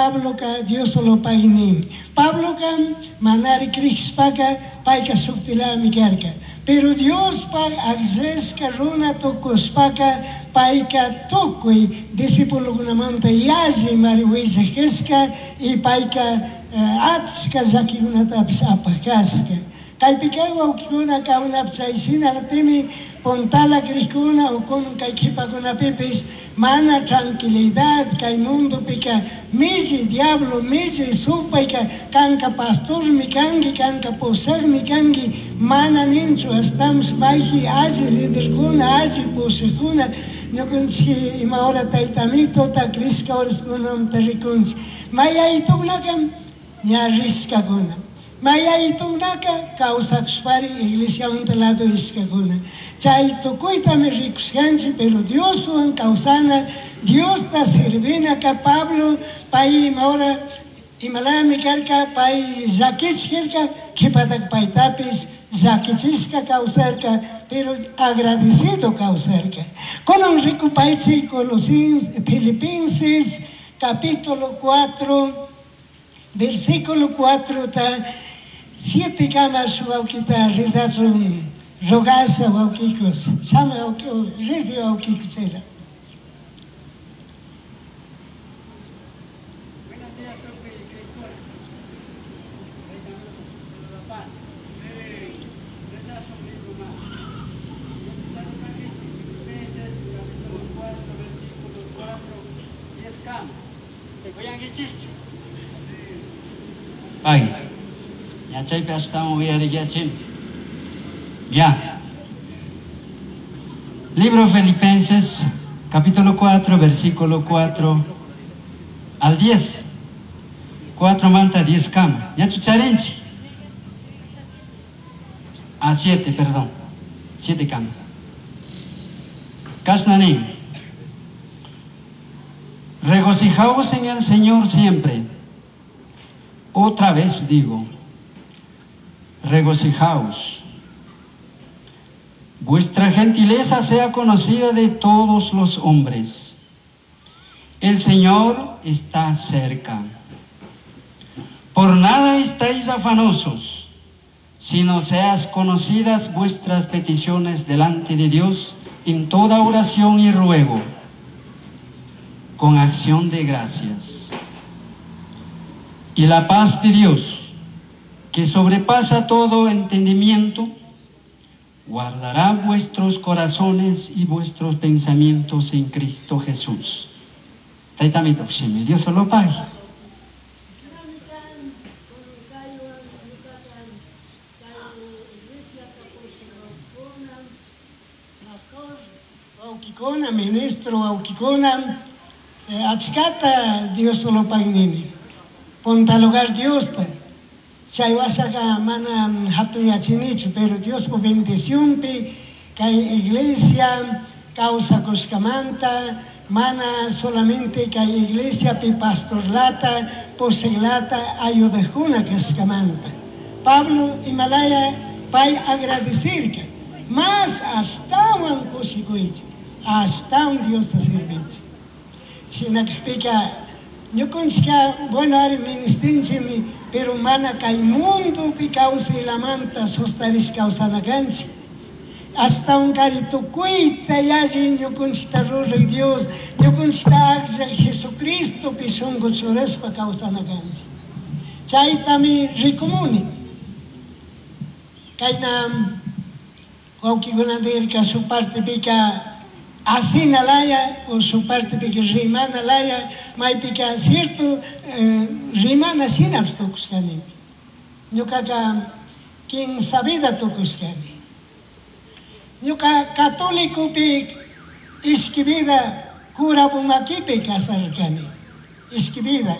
Pabloca Dioslopagui nin. Pabloca manari crishpaca payka shuktilami karka. Pero Diospaj agllashka runa tukushpaka payka tukuy discípulokunamanta yalli mari willaj kashka y payka achka llakikunatapish apaj kashka. Kaypika wawkikuna kawnapi chay shinallatimi puntala crikuna o kunan kay qhipakunapipish mana tranquilidad kay mundopika milli diablo milli supayka kanka pastormi kanki, kanka pushakmi kanki, mana ninchu, ashtawanpish mayji alli liderkuna, alli pushakuna ñukanchik ima hora tayta Amitota crishka horaskunamanta rikunchik. Mayaytukunaka ña rishkakuna. Mayaytunaka kawsakushpari iglesiamanta lado ishkakuna. Chay tukuytami rikushkanchik, pero Dioswan kawsana, Diosta servinaka Pablo pay ima hora imalami karka, pay llakichirka, qhipataka paytapish llakichishka kawsarka, pero agradecido kawsarka. Kunan rikupaychik Colosenses, Filipenses capítulo 4, versículo 4 ta 7 kama wawkita rizachun rogasha wawkikus. Shama wawki, rizi wawkikuchela. Buenos días, tukuy crikuna. Filipenses capítulo 4, versículo 4, 10 kama. Uyankichikchu? Ay, ya chaypi ashtawan uyariyachin. Ya. Libro Filipenses, capítulo 4, versículo 4 al 10. 4 manta 10 kama. Ya chucharinchi. Ah, 7, perdón. 7 kama. Kasnanin. Regocijaos en el Señor siempre. Otra vez digo, regocijaos. Vuestra gentileza sea conocida de todos los hombres. El Señor está cerca. Por nada estáis afanosos, sino seas conocidas vuestras peticiones delante de Dios en toda oración y ruego, con acción de gracias. Y la paz de Dios, que sobrepasa todo entendimiento, guardará vuestros corazones y vuestros pensamientos en Cristo Jesús. Tayta Amito, Dios solo pague. Wawkikuna, ministro wawkikuna, achkata Dios solo pague. Punta lugar Diosta. Chay wasaka mana hatuyachinichu, pero Diospa bendicionpi kay iglesia kawsakushkamanta, mana solamente kay iglesiapi pastorlata, pushaqlata ayudaqkuna kashkamanta. Pablo imalaya pay agradecirka, mas ashtawan kushikuychik, ashtawan Diosta servichik. Shinakpika ñukanchika, bueno, ari ministinchimi, pero mana kay mundopi kawsaylamanta sostarish kawsana kanchik. Ashtawan kari tukuyta yalli ñukanchikta ruraq Dios, ñukanchikta akllaq Jesucristopi shunqu churashpa kawsana kanchik. Chaytami rikumuni. Kayna wawkikuna nirka shuk partepika asina laya o su partepika rimana laya, maypika cierto, rimana shinapish tukushkanimi. Ñukaka kimsa vida tukushkani. Ñuka católicopi ishki vida cura pumakipi casarkani. Ishki vida.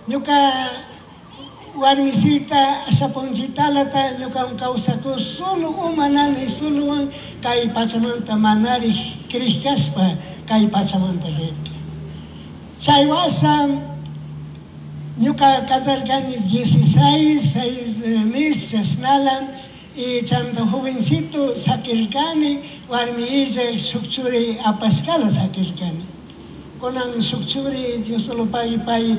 Ñuka warmisita ashapunchitalata ñuka kawsaku solo umanani solowan kay pachamanta manari krishkashpa kay pachamanta rirka. Chay wasa ñuka casarkani 16, 6 meses chashnala, y chaymanta jovencito sakirkani, warmi illa shuk churi apashkala sakirkani. Kunan shuk churi Dios solo pagui pay